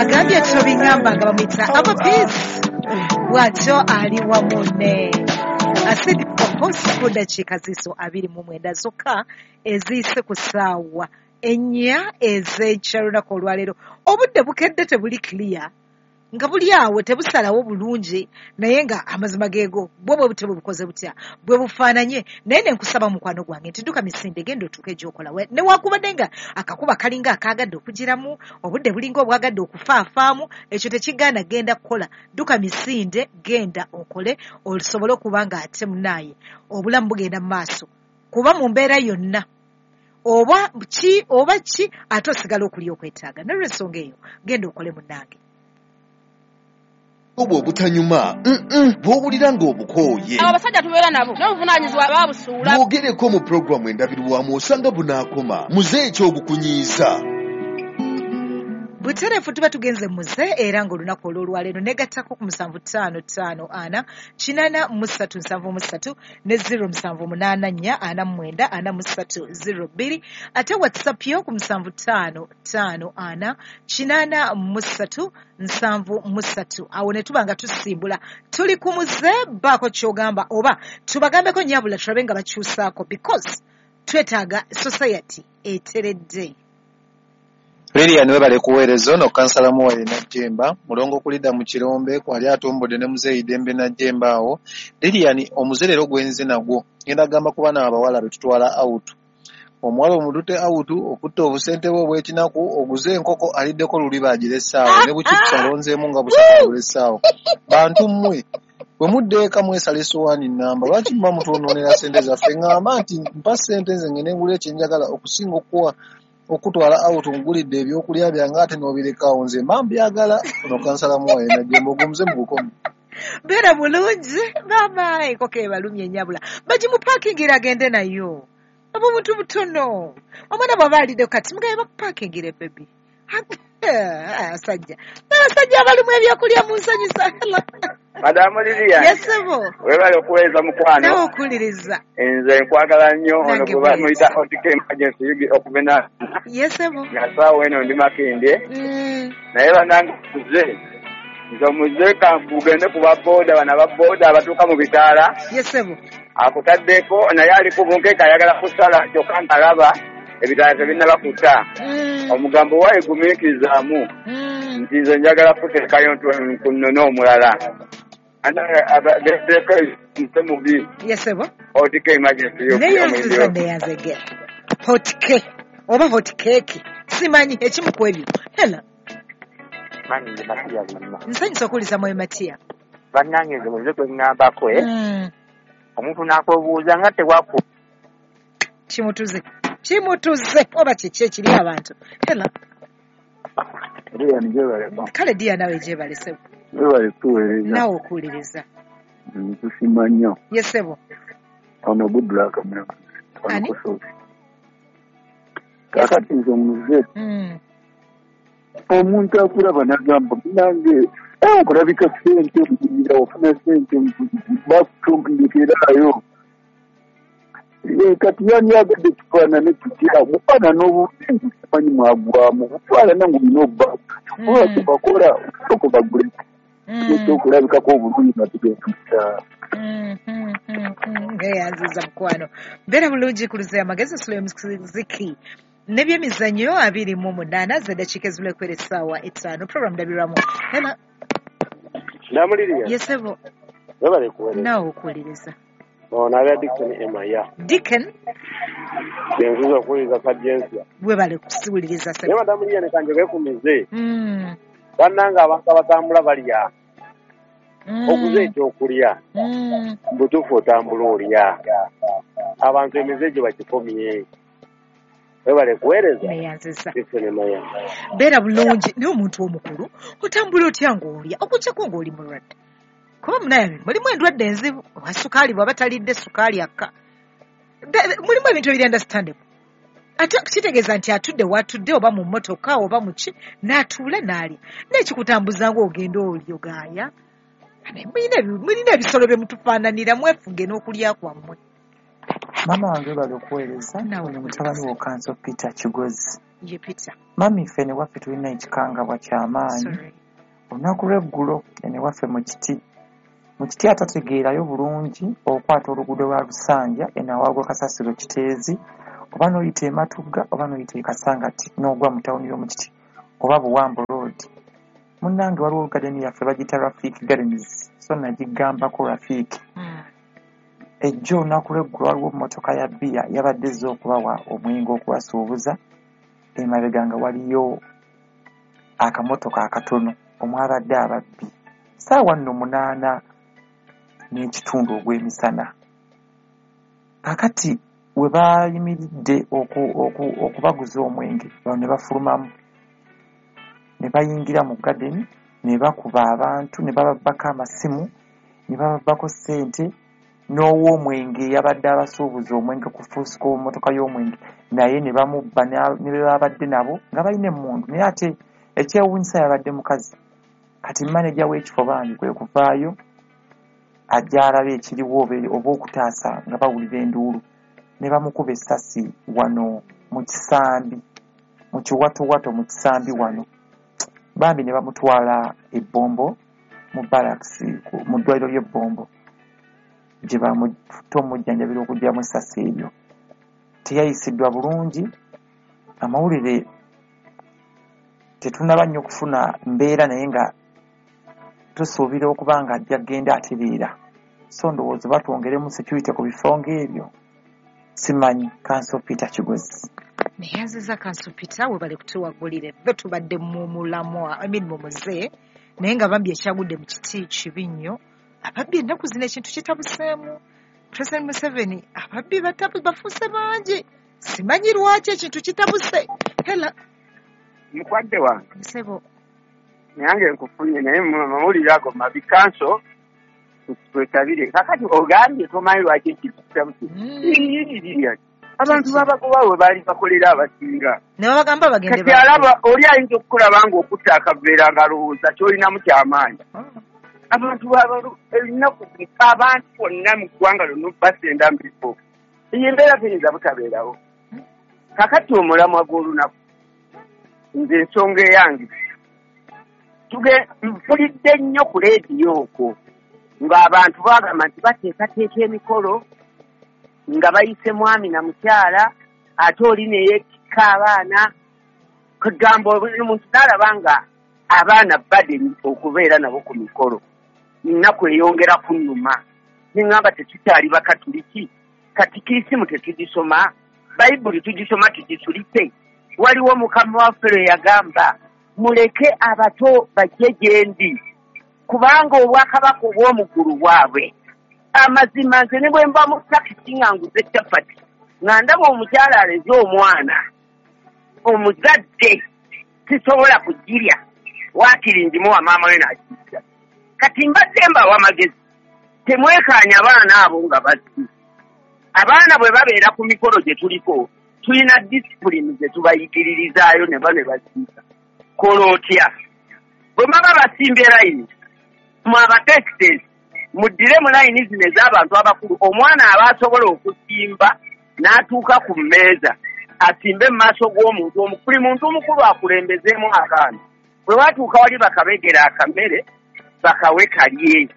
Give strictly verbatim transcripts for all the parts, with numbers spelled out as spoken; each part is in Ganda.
Agambye tobiŋŋamba nga bamuyita Ava Peace, bw'atyo ali wamu ne Acid Focus ku ddakiika ziiso abiri mu mwenda zokka eziyise ku ssaawa ennya ez'enkya lunaku olwaleero. Obudde bukedde tebuli clear, nga buli awo tebusalawo bulungi, naye nga amazima geego bwo bwe butyo bwe bukoze butya bwe bufaananye. Naye ne nkusaba mukwano gwange nti dduka misinde, genda otuuke gy'okola, newaakubadde nga akakuba kalinga akaagadde okugiramu, obudde bulinga obwagadde okufaafaamu, ekyo tekigaana genda kukola. Dduka misinde, genda okole osobole okuba nga ate munaaye obulamu bugenda mu maaso, kuba mu mbeera yonna oba ki oba ki ate osigala okulya okwetaaga. Nolwensonga eyo genda okole munnange. Obwo obutanyuma bw'owulira ng'obukooye. Abo abasajja tubeera nabo n'obuvunaanyizibwa babusuula. Bwogereko mu pulogulaamu endabirwamu osanga bunaakoma. Muze ekyogukunyiiza. Butereefu tuba tugenze muze, era ng'olunaku olw'olwaleero negattako ku musanvu ttaano ttaano ana kinaana mu ssatu nsanvu mu ssatu ne zero musanvu munaana nnya ana mu mwenda ana mu ssatu zero bbiri, ate WhatsApp yo ku musanvu ttaano ttaano ana kinaana mu ssatu nsanvu mu ssatu. Awo ne tuba nga tusimbula tuli ku muze, baako ky'ogamba oba tubagambeko nnyabula tulabe nga bakyusaako, because twetaaga society eteredde. Lilian webale kuweereza. Ono kansala Muwaire Najjemba mulongo kulidda mu Kirombe kwali atumbudde ne muzeeyi Dembe Najjemba awo. Lilian, omuze leero gwenze nagwo ngenda kugamba ku baana abawala be tutwala out. Omuwala omutute out okutta obusente bwe obw'ekinaku, oguze enkoko aliddeko luli baagiressaawo ne buchipusi alonzeemu nga busatu bulessaawo. Bantu mmwe bwe mudda eka mwesala essowaani nnamba, lwaki muba mutwonoonera ssente zaffe? Ŋŋamba nti mpa ssente nze ngende ngule kye njagala okusinga okuwa okutwala out ngulidde ebyokulya byange ate n'obirekawo, nze mba mbyagala. Ono kansala Muwaire Najjemba ogumuze mu bukomi. Beera bulungi maama, enkoko ebalumye ennyabula bagimupaakingira agende nayo. Obwo buntu butono, omwana bw'aba alidde kati mugabe bakupaakingire bebi. Abasajja abasajja abalimu ebyokulya munsanyusa. Madamu Lilian. Yesebo. Webale okuweereza mukwano. Nawe okuwuliriza. Nze nkwagala nnyo. Ono Nange gwe bamuyita bwetyo. Otike Emergency Yugi okuvena Yesebo. nga ssaawa eno ndi Makindye. Mm. Naye bannange muze, nze omuze kankugende ku ba booda bano aba booda abatuuka mu bitaala. Yesebo. Akutaddeko naye ali ku bunkeeka ayagala kusala kyokka ng'alaba ebitaala tebinnaba kuta. Mm. Omugambo waayi gumiikirizaamu Mm. nti nze njagala kuteekayo ku nnone omulala. Gendeko nte mubi. Yesebo. Otike Emergency Yugi Neyanziza omuyindi. neyanzege. Hot cake oba hot cake simanyi ekimu ku ebyo. Hela. Manyi nze Matiya Lulima. Nsanyusa okuwuliza mwoyo Matiya. Bannange nze muze gwe ŋŋambako eh Mm. omuntu n'akwebuuza nga tewaku Kimutuze kimutuze oba kiki ekiri abantu. Hela. Lilian gyebaleko. Kale diya nawe gyebalese. Webale kutuweereza. Naawe okuwuliriza. Mm, tusiima nnyo. Yesebo. Ono Goodluck Mulamuzi. Ono Ani? Kusozi. Kaakati nze omuze Mm. omuntu akulaba n'agamba munange eh, okulabika ssente muyira ofuna ssente bakutumbikiraayo. Eh, kati yandyagadde tufaanane tutya? Bufaanana obubi simanyi mwagwamu bufaanana ng'olina obba oba Mm. kyebakola osooka bagule Mm. ekyokulabikako obulungi nga tugenda mu kyalo. Mm, mm, mm, mm. Ngeyanziza mukwano. Beera bulungi ku luze amagezi nsula muziki n'ebyemizannyo abiri mu munaana z'eddakiika ezibula ekwera essaawa etaano. Program ndabirwamu. Hela. Namuliriya. Yesebo. Webale kuweereza. Naawe okuwuliriza. Ono abya Dickson Emaya. Dickon. Nziza okuwuliriza Kajensia. Webale kusiwuliriza Naye sebo. Madamu Lilian kanjogere ku mize. Mm. Bannange abantu abatambula balya. Mm. Oguze ekyokulya. Mm. Mu butuufu otambula olya. Abantu emize egyo bagikomye. Webale kuweereza. Neyanziza. Dickson Emaya. Beera bulungi naye omuntu omukulu otambula otya ng'olya okuggyako ng'oli mulwadde, kuba munaye mulimu endwadde enzibu oba sukaali bw'aba talidde sukaali akka. Be- mulimu ebintu ebiri understandable, ate kitegeeza nti atudde w'atudde oba mu mmotoka oba mu ki n'atuula n'alya, naye kikutambuza ng'ogenda olyogaaya. Mulina ebi- mulina ebisolo bye mutufaananira, mwefuge n'okulya kwammwe. Maama wange webale okuweereza. Naawe Ono mutabani okuwuliriza. wo Kanso Peter Kigozi. Ye Peter. Mami ffe ne waffe tulina ekikangabwa ky'amaanyi. Sorry. Olunaku lw'eggulo ene waffe mu kiti. Mu kiti atategeerayo bulungi okwata oluguudo lwa Lusanja eno awaagwa Kasasiro Kiteezi oba n'oyita e Matugga oba n'oyita e Kasangati n'ogwa mu tawuni y'omu Kiti oba Buwambo Road. Munnange waliwo gadeni yaffe bagiyita Rafiki Gardens so nagigambako Rafiki. Mm. Ejjo olunaku lw'eggulo waliwo emmotoka ya bbiya yabadde ezze okubawa omwenge okubasuubuza emabega nga waliyo akamotoka akatono omwabadde ababbi ssaawa nno munaana n'ekitundu ogw'emisana. Kaakati we baayimiridde oku- oku- okubaguza omwenge bano ne bafulumamu ne bayingira mu gadeni ne bakuba abantu ne bababbako amasimu ne bababbako ssente n'ow'omwenge eyabadde abasuubuza omwenge ku fuusiko mmotoka y'omwenge naye ne bamubba ne ne be babadde nabo nga balina emmundu naye ate ekyewuunyisa yabadde mukazi. Kati maneja w'ekifo bambi kwe kuvaayo ajja alabe ekiriwo oba oba okutaasa nga bawulira enduulu ne bamukuba essasi wano mu kisambi mu kiwatowato mu kisambi wano bambi ne bamutwala e Bbombo mu barracks ku- mu ddwaliro ly'e Bbombo gye bamututte omujjanjabira okuggyamu essasi eryo. Teyayisiddwa bulungi, amawulire tetunnaba nnyo kufuna mbeera naye nga tusuubira okuba nga ajja kugenda atereera. So ndowooza batwongeremu security ku bifo ng'ebyo. Simanyi. Kanso Peter Kigozi. Neyanziza Kanso Peter, webale kutuwagulira. Ffe tubadde mu mulamwa, I mean mu muze, naye nga bambi ekyagudde mu kiti kibi nnyo. Ababbi ennaku zino ekintu kitabuseemu. President Museveni ababbi batabu bafuuse bangi. Simanyi lwaki ekintu kitabuse. Hela Mukwadde wange Musebo. Nange nkufunye naye mawulire ago mabi kanso twetabire. Kakati ogambye tomanyi lwaki ekintu kitabuse. Mm. Abantu babagoba we baali bakolera abasinga. Ne babagamba bagende Kati alaba oli ayinza okukulaba ng'okutta akaveera ng'alowooza ky'olinamu ky'amaanyi. Oh. Abantu babalu ennaku abantu bonna mu ggwanga lyonna basenda mu bifo. Eyo embeera teyinza butabeerawo. Kakati omulamwa gw'olunaku nze ensonga eyange tuge mpulidde nnyo ku leediyo okwo ng'abantu bagamba nti bateekateeka emikolo nga bayise mwami na mukyala ate oli ne yeetikka abaana kugamba buli muntu n'alaba nga abaana badde okubeera nabo ku mikolo nnaku eyongera kunnuma neŋŋamba tetukyali bakatuliki katikisimu tetugisoma bayibuli tugisoma tugisulise. Waliwo mukama waffe lwe yagamba muleke abato bajje gye ndi kubanga obwakabaka obw'omuggulu bwabwe. Amazima nze ne bwe mba mu takisi nga nguze capati nga ndaba omukyala aleze omwana omuzadde sisobola kugirya waakiri ngimuwa maama we n'agirya. Kati mbadde mbawa amagezi temwekaanya abaana abo nga bazzi. Abaana bwe babeera ku mikolo gye tuliko tulina disipulini ze tubayigiririzaayo ne ba ne baziika. Kola otya? Bwe baba basimbye layini mwe abateesiteesi muddire mu layini zino ez'abantu abakulu omwana aba asobola okusimba n'atuuka ku mmeeza asimbe mu maaso g'omuntu omu buli muntu omukulu akulembezeemu akaana. Bwe batuuka wali bakabegera akamere bakawe kalye.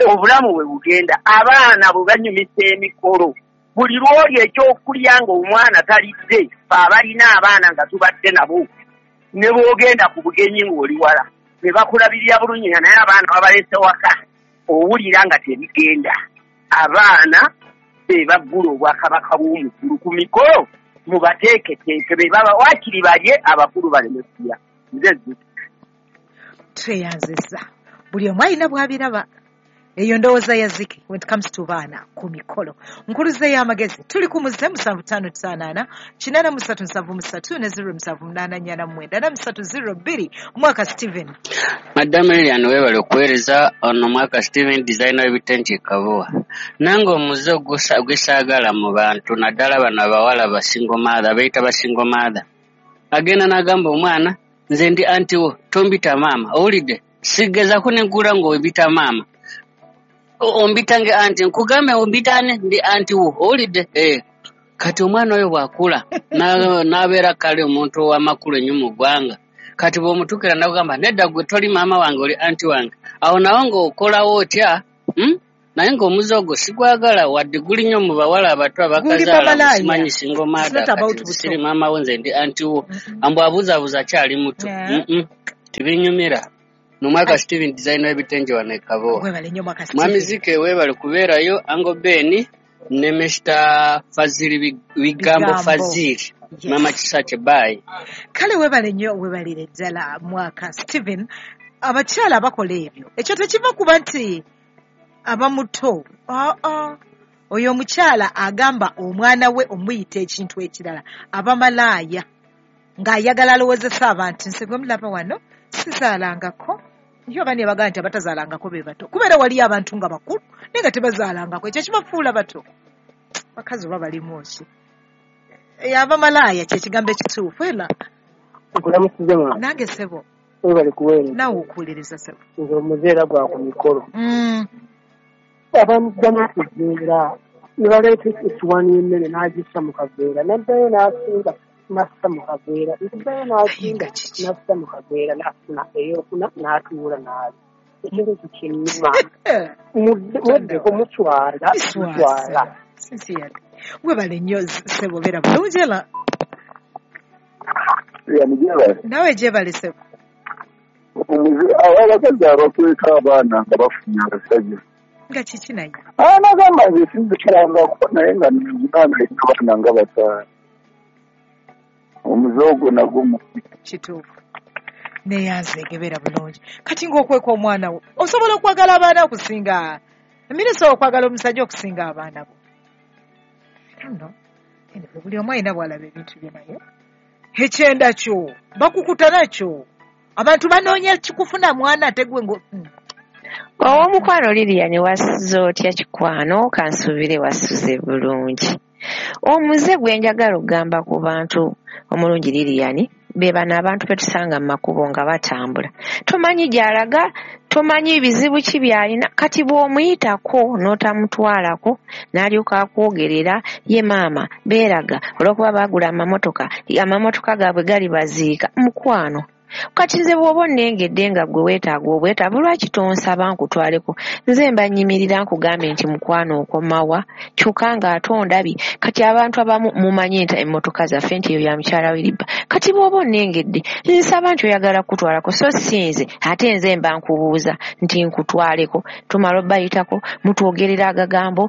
Obulamu bwe bugenda abaana bwe banyumisa emikolo buli lw'olya ekyokulya ng'omwana talidde fe abalina abaana nga tubadde nabo ne bw'ogenda ku bugenyi ng'oli wala ne bakulabirira bulungi nga naye abaana babalese waka owulira nga tebigenda. Abaana be baggula obwakabaka bw'omuggulu ku mikolo mubateeketeeke be baba waakiri balye abakulu baleme kulya. Nze Ziki. Tweyanziza. Buli omu alina bw'abiraba. Eyo ndowooza ya Ziki when it comes to baana ku mikolo. Nkuluze y'amagezi tuli ku muze musanvu ttaano ttaano ana kinaana mu ssatu nsanvu mu ssatu ne zero musanvu munaana nnya na mwenda na musatu zero bbiri mwaka Steven. Madam Lilian webale okuweereza ono mwaka Steven designer w'ebitengi e Kabowa. Nange omuze ogusa- gwesaagala mu bantu naddala bano abawala ba single mother beeyita ba single mother. Agenda n'agamba omwana nze ndi anti wo tombita maama owulidde sigezaako ne nkula ng'ombita maama. O- ombita nge anti nkugambe ombita ani ndi anti wo owulidde eh. Kati omwana oyo bw'akula n'abeera kale omuntu ow'amakulu ennyo mu ggwanga, kati bw'omutuukira n'akugamba nedda gwe toli maama wange oli anti wange, awo nawo ng'okolawo otya? Hmm? Naye ng'omuze ogwo sigwagala wadde guli nnyo mu bawala abato abakazaala simanyi single mother, kati siri maama we nze ndi anti wo, ambu abuuzaabuuza akyali muto. Tibinyumira. Nomwaka Steven designer w'ebitengi wano e Kabowa. Mwami Zike weebale kubeerayo, Ango Ben ne Mister Fazili Bigambo Fazili. Mama Kisache bye. Kale weebale nnyo, weebalire ddala Mwaka Steven. Abakyala bakola ebyo, ekyo tekiva kuba nti aba muto. Aa, oyo omukyala agamba omwana we omuyita ekintu ekirala, aba malaaya ng'ayagala alowoozesa abantu. Nse gwe mulaba wano sizaalangako. Yo bani abagamba nti abatazaalangako be bato, kubeera waliyo abantu nga bakulu naye nga tebazaalangako, ekyo kibafuula bato. Bakazi oba balimu ki? Aba malaaya kye kigambo ekituufu. Era nkulamusize mwana. Nange ssebo. Webale kuweereza. Naawe okuwuliriza ssebo. Nze omuzeera gwa ku mikolo. Abamugjamu okuveera ne baleeta essuwaani y'emmere n'agissa mu kaveera, n'addayo n'asinga n'assa mu kaveera, n'addayo n'asinga n'assa mu kaveera, n'afuna ey'okuna n'atuula n'alya. Ekintu ekyo kinnuma. Mweddeko muswala, muswala. Webale nnyo ssebo, beera bulungi. Era naawe gyebale ssebo. Abakazi abakweka abaana nga bafunye abasajja nga kiki naye? Anagamba nze sinzikirangako naye nga nzinaana abaana nga bataano. Omuze ogwo nagwo mubi. Kituufu. Neyanzeege, beera bulungi. Kati ng'okweka omwana wo, osobola okwagala abaana okusinga emire, osobola okwagala omusajja okusinga abaana bo. No. Anyway, buli omu alina bw'alaba ebintu bye naye. Ekyenda kyo bakukuta nakyo. Abantu banoonya kikufuna mwana ate gwe ngo Ow'omukwano Lilian wasuze otya kikwano? Kansuubire wasuze bulungi. Omuze gwe njagala okugamba ku bantu omulungi Lilian, be bano abantu be tusanga mu makubo nga batambula. Tomanyi gy'alaga, tomanyi bizibu ki by'alina, kati bw'omuyitako n'otamutwalako n'alyoka akwogerera ye maama beeraga olw'okuba baagula amamotoka, amamotoka gaabwe gali baziika. Mukwano, kati nze bw'oba onnengedde nga ggwe weetaaga obwetaavu, lwaki tonsaba nkutwaleko? Nze mba nnyimirira nkugambe nti mukwano okomawa, kyokka ng'ate ondabye. Kati abantu abamu mumanyi nti emmotoka zaffe nti eyo ya mukyala Wiriba. Kati bw'oba onnengedde nsaba nti oyagala kutwalako, so si nze ate nze mba nkubuuza nti nkutwaleko. Tumala obbayitako, mutwogerera agagambo,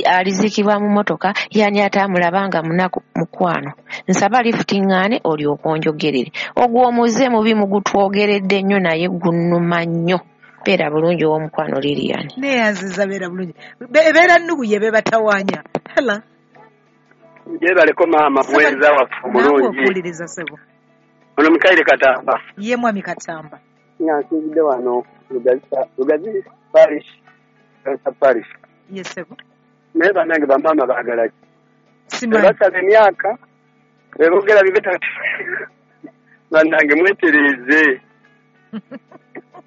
aliziikibwa mu mmotoka, yani ate amulaba nga munaku. Mukwano, nsaba lifuti ŋŋaane olyoke onjogerere. Ogwo omuze mubi mugutwogeredde nnyo naye gunnuma nnyo. Beera bulungi ow'omukwano Lilian. Neyanziza, beera bulungi. Ebeera nnugu ye bebatawaanya. Hala. Gyebaleko maama, buweereza waffe Naawe bulungi. okuwuliriza ssebo. Ono Mikaire Katamba. Ye mwami Katamba. Nga nsinzidde wano Lugazi Lugazi Parish, Lugazi Parish. Ye ssebo. Naye bannange bamaama baagala ki? Simanyi. Basaba emyaka, beboogera bibe bannange mwetereeze.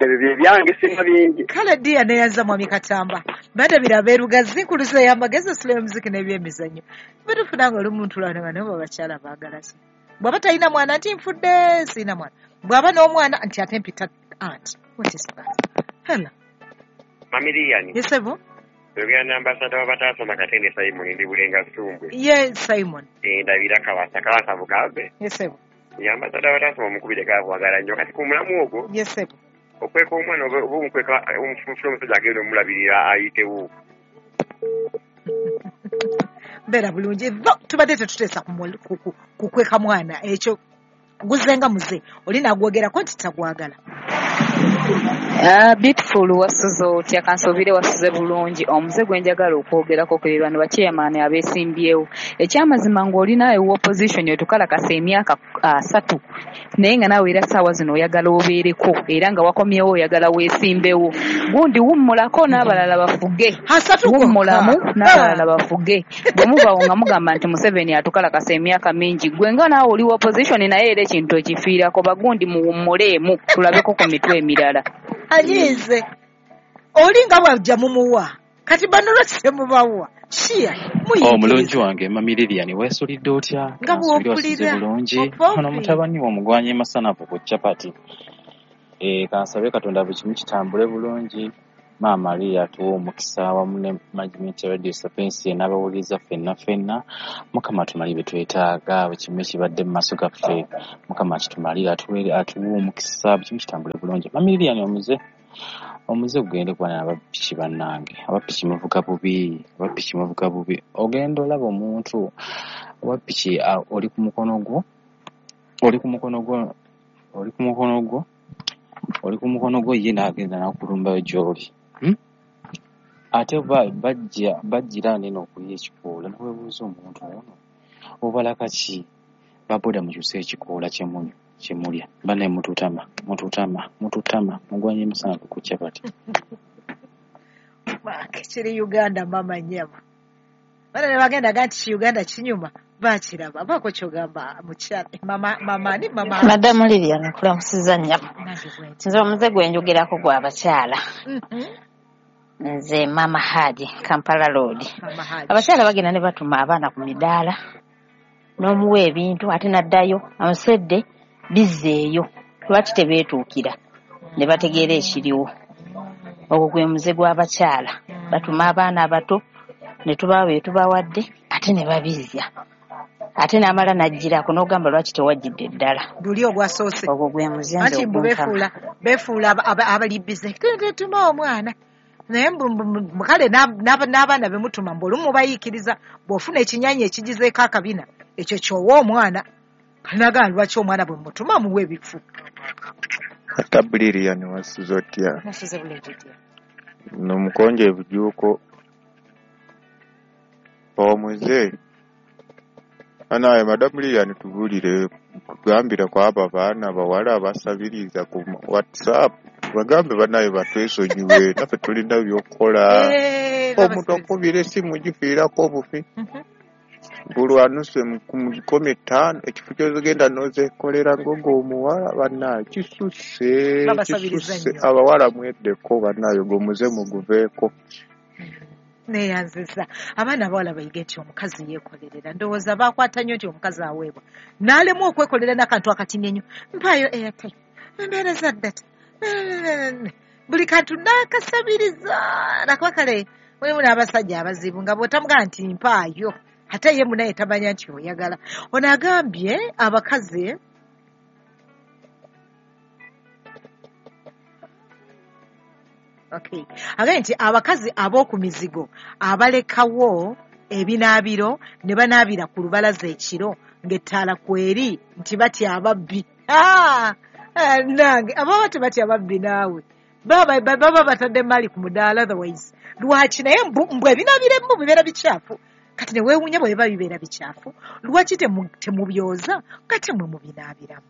Ebyo bye byange sina bingi. Kale ddiya neyanza mwami Katamba. Bandabira ab'e Lugazi nkuluza y'amagezi osula y'omuziki n'ebyemizannyo. Bitufuna nga olumu ntulwana nga nabo abakyala baagala ki? Bw'aba talina mwana nti nfudde sirina mwana. Bw'aba n'omwana nti ate mpita aunt. What is that? Hello. Mami Lilian. Yes, sebo. Oyogera ne ambasada w'abataasoma Katende Simon ndi Bulenga Ssumbwe. Ye Simon. Eh, ndabira Kabasa, Kabasa Bugambe. Yes, sebo. Ye ambasada w'abataasoma omukubire gaabwagala nnyo. Kati ku mulamu ogwo. Yes, sebo. Okweka omwana oba omukweka omufunfula omusajja agenda omulabirira ayitewo. Mbeera bulungi. Tubadde tetuteesa ku kweka mwana ekyo guzenga muze oli nagwogerako nti tagwagala. Ah, beautiful wasuze otya? Kansuubire wasuze bulungi. Omuze gwe njagala okwogerako ku bano bachairman abeesimbyewo. Ekyamazima ng'oli naawe opposition otukalakasa emyaka asatu naye nga naawe era ssaawa zino oyagala obeereko era nga wakomyewo oyagala weesimbewo. Gundi wummulako n'abalala bafuge. Wummulamu n'abalala bafuge. Bwe mubaawo nga mugamba nti Museveni atukalakasa emyaka mingi, gwe nga naawe oli opposition naye era ekintu okifiirako. Bagundi muwummuleemu tulabeko ku mitwe emirala. Anyiize oli nga bw'ajja mumuwa, kati bano lwaki temubawa? Kia Omulungi muyigiriza wange Mami Lilian, weesulidde otya? Nga Kansuubire wasuze bw'ompulira bulungi. Ono opompi. Mutabani wo omugwanyi masanafu ku capati. Eh, kansabe Katonda buli kimu kitambule bulungi. Maama Maria atuwe omukisa wamu ne management ya Radio Sapientia n'abawuliriza ffenna ffenna. Mukama atumalire bye twetaaga, buli kimu ekibadde mu maaso gaffe. Mukama akitumalire, atuwe atuwe omukisa, buli kimu kitambule bulungi. Mami Lilian, omuze omuze gugende kuba n'abapiki bannange. Abapiki muvuga bubi, abapiki muvuga bubi. Ogenda olaba omuntu owa piki ah, oli ku mukono gwo, oli ku mukono gwo, oli ku mukono gwo, oli ku mukono gwo ye n'agenda n'akulumbayo gy'oli. Hmm? Ate ba- bajja bajjira neno okulya ekikoola neweebuuza omuntu ono obalaka ki? Baboda mukyuse ekikoola kye munywa kye mulya. Bannaye mututama, mututama, mututama, mugwanye emisana ku capati. Maake kiri Uganda mama nyama. Bana ne bagenda ga nti ki Uganda kinyuma bakiraba baako kyogamba mukyala mama mama ni mama Madamu Lilian, nkulamusiza nnyabo. Nange bwentyo. Nze omuze gwe njogerako gwa bakyala. Mhm. Nze Mama Haji, Kampala Road. Mama Haji. Abakyala bagenda ne batuma abaana ku midaala n'omuwa ebintu ate n'addayo amusedde bizzeeyo. Lwaki tebeetuukira ne bategeera ekiriwo? Ogwo gwe muze gw'abakyala. Batuma abaana abato ne tubawa bye tubawadde ate ne babizza. Ate n'amala n'aggyirako n'ogamba lwaki tewaggyidde ddala. Luli ogwasoose. Ogwo gwe muze nze Anti mbu oguntama. beefuula beefuula aba- aba- abali bize tetuma omwana naye mbu- mbu- mbu- kale n'ab- n'ab- n'abaana be mutuma mbu olumu mubayiikiriza bw'ofuna ekinyanya ekigizeeko akabina ekyo ky'owa omwana kanagaa lwaki omwana bwe mutuma muwa ebifu. Ata Lilian, wasuze otya? Nasuze bulungi dya. Nomukonje ebujuuko omuze anaye Madamu Lilian, tubuulire, tugambire ku abo abaana abawala abasabiriza ku WhatsApp, bagambe banaye batwesonyiwe, naffe tulina by'okukola. Eh, Omuntu babasabiriza. akubira esimu gifiirako obufi Mhm. bulwanuse ku nkumi ttaano ekifo ky'ozigenda n'ozeekolera ngogo omuwala bannaye kisusse Babasabiriza kisusse nnyo. Abawala mweddeko bannaye ogwo omuze muguveeko. Neeyanziza abaana abawala bayige nti omukazi yeekolerera. Ndowooza baakwata nnyo nti omukazi aweebwa n'alemu okwekolera n'akantu akatini ennyo, mpaayo airtime, embeereza data, buli kantu n'akasabiriza nakuba kale mulimu n'abasajja abazibu nga bw'otamugamba nti mpaayo ate ye munaye tamanya nti oyagala. Ono agambye abakazi Okay. Agambye nti abakazi ab'oku mizigo abalekawo ebinaabiro ne banaabira ku lubalaza ekiro ng'ettaala kweri nti batya ababbi. Ah! Ah, nange ababa tebatya ababbi naawe baba baba batadde maali ku mudaala otherwise lwaki naye mbu mbu ebinaabiro ebimu bibeera bikyafu kati ne weewuunya bwe biba bibeera bikyafu lwaki temu- temubyoza nga temwe mubinaabiramu.